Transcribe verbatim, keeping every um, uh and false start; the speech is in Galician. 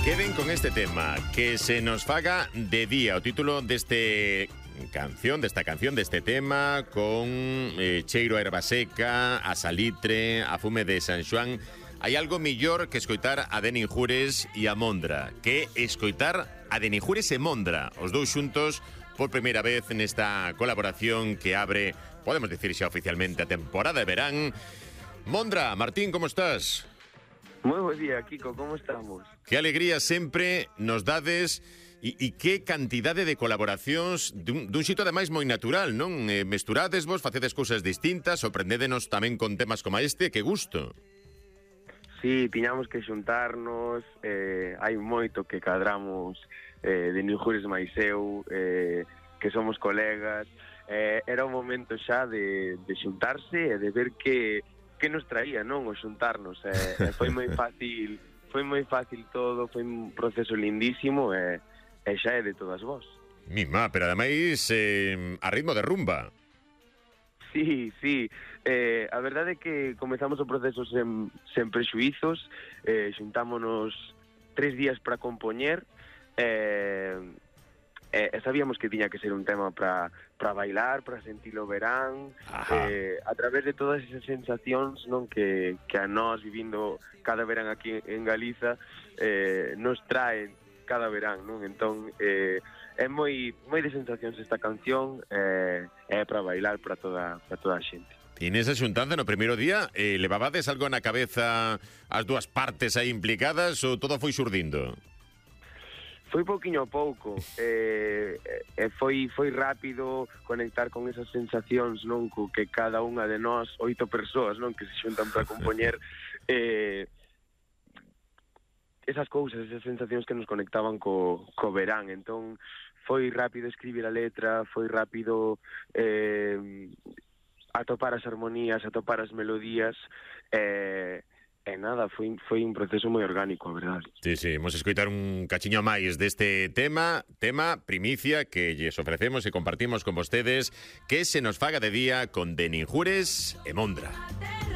Queden con este tema, que se nos faga de día. O título deste canción, desta canción, deste tema, con eh, cheiro a erva seca, a salitre, a fume de San Xoán. Hai algo millor que escoitar a Denis Jures e a Mondra, que escoitar a Denis Jures e Mondra, os dous xuntos por primeira vez nesta colaboración que abre, podemos dicir xa oficialmente, a temporada de verán. Mondra, Martín, como estás? Moi bo día, Kiko, como estamos? Que alegría sempre nos dades e, e que cantidade de colaboracións dun, dun xito ademais moi natural, non? Eh, mesturádesvos, facedes cousas distintas, sorprendédenos tamén con temas como este, que gusto. Sí, tiñamos que xuntarnos, eh, hai moito que cadramos eh, de Denis Jures máis eu, eh, que somos colegas, eh, era o momento xa de, de xuntarse e de ver que que nos traía, non, o xuntarnos, eh, foi moi fácil, foi moi fácil todo, foi un proceso lindísimo e, e xa é de todas vós. Mima, pero ademais eh, a ritmo de rumba. Sí, sí, eh, a verdade é que comezamos o proceso sen, sen prexuizos, eh, xuntámonos tres días para compoñer, eh, e eh, sabíamos que tiña que ser un tema para para bailar, para sentir o verán, eh, a través de todas esas sensacións, non, que, que a nós vivindo cada verán aquí en Galiza eh, nos traen cada verán, non? Entón eh, é moi moi de sensacións esta canción, eh, é para bailar para toda para toda a xente. E nesa xuntanza no primeiro día eh, levabades algo na cabeza as dúas partes aí implicadas ou todo foi xurdindo? Foi pouquiño a pouco, eh, eh, foi foi rápido conectar con esas sensacións, non, co que cada unha de nós, oito persoas, non, que se xuntan para compoñer, eh, esas cousas, esas sensacións que nos conectaban co, co verán. Entón foi rápido escribir a letra, foi rápido eh, atopar as armonías, atopar as melodías, e eh, E nada, foi, foi un proceso moi orgánico, a verdade. Sí, sí, vamos a escoitar un cachiño máis deste tema, tema primicia que lles ofrecemos e compartimos con vostedes, que se nos faga de día con Denis Jures e Mondra.